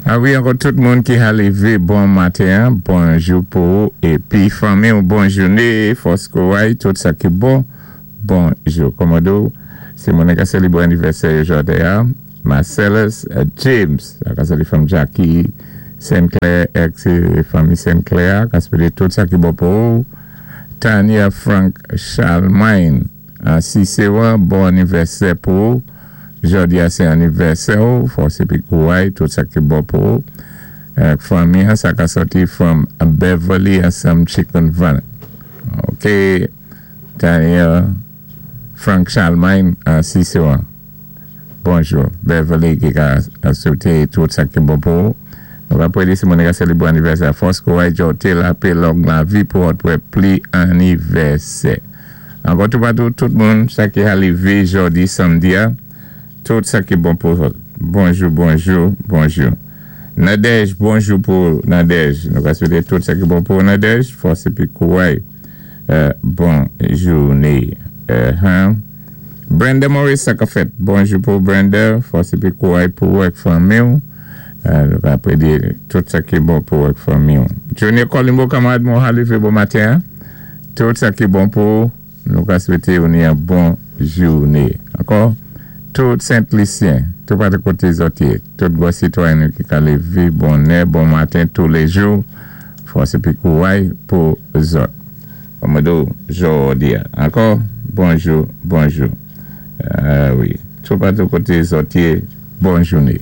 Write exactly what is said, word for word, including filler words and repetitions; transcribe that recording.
A wi, ankò tout moun ki ka lévé, bon maten, bonjou pou épi fanmi ou bon jouné, fòs kouway, tout sa ki bon, bonjou. Kòmado, sé moun ka sélébwé anivèsè jòdi-a, Marcellus James, ka sali fanm Jackie Sinclair, ex fanmi Sinclair, ka swété tout sa ki bon pou Tania Frank Charlemagne, si sé bon anivèsè pou jòdi-a sé anivèsè ou, fòs épi kouway, tout sa ki bon pou fanmi, sa ka sòti from Beverly ansanm Chicken Van. Ok, Tania Frank Charlemagne, si sé bonjou, Beverly ki ka swété tout sa ki bon pou. Nou va pwédi si moun ka sélébwé anivèsè fòs kouway, jòté lapè long lavi pou wè pli anivèsè. Ankò tout patou, tout moun, sa ki ka lévé jòdi, samdi, tout sa ki bon pou bonjou, bonjou, bonjou. Nadège, bonjou pou Nadège. Nou ka swété tout sa ki bon pou Nadège, fòs épi kouway, bon jouné. Brenda Maurice, sa ka fèt. Bonjou pou Brenda, fòs épi kouway pou ak fanmi. Nou ka pwédi tout sa ki bon pou ak fanmi. Junior Colimbo, kanmarad mwen, lévé bon maten. Tout sa ki bon pou nou ka swété ou ni yon bon jouné. Ankò? Tout Sent-Lisyen, tout patou koté zòt yé, tout gwo sitwayen ki ka lévé bonè, bon maten tous les jours, fòs épi kouway pou zòt. Kòmado, jòdi. Ankò, bonjou, bonjou. Ah wi, tout patou koté zòt yé, bon jouné.